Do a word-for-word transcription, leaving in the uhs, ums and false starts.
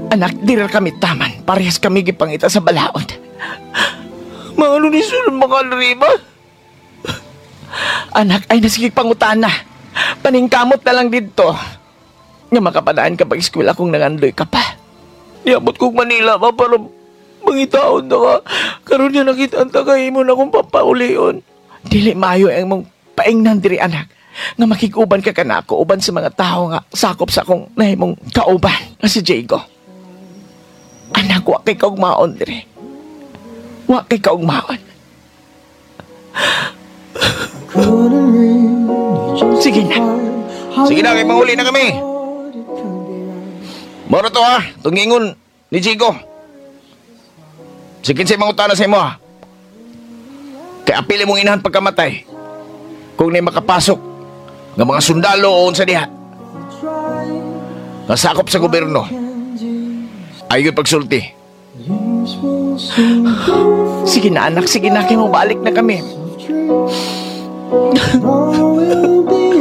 Anak, dira kami taman. Parehas kami gipangita sa balaod. Mga ni sulod mga riba. Anak, ay nasige pangutana. Paningkamot na lang didto. Nga makapadaan ka pag eskwela kung nangandoy ka pa. Niabot kong Manila pa para mangitaon na ka. Karon niya nakita ang tagay mo na kung papaulion. Dili maayo ang mong paingnan diri, anak. Nga makig-uban ka kanako uban sa mga tao nga sakop sa akong nahimong kauban nga si Diego. Anak, wa kay kaugmaon diri. Wa kay kaugmaon. Couldn't really Sige na. Sige na, kay mahuli na kami. Moro to ha, tungingon ni Chico. Sige sa mangutana sa imo ha. Kay apili mong inahan pagkamatay. Kung nay makapasok nga mga sundalo o unsa diha. Nga sakop sa gobyerno. Ayon pagsulti. Sige na, anak, sige na kay mo balik na kami. All will be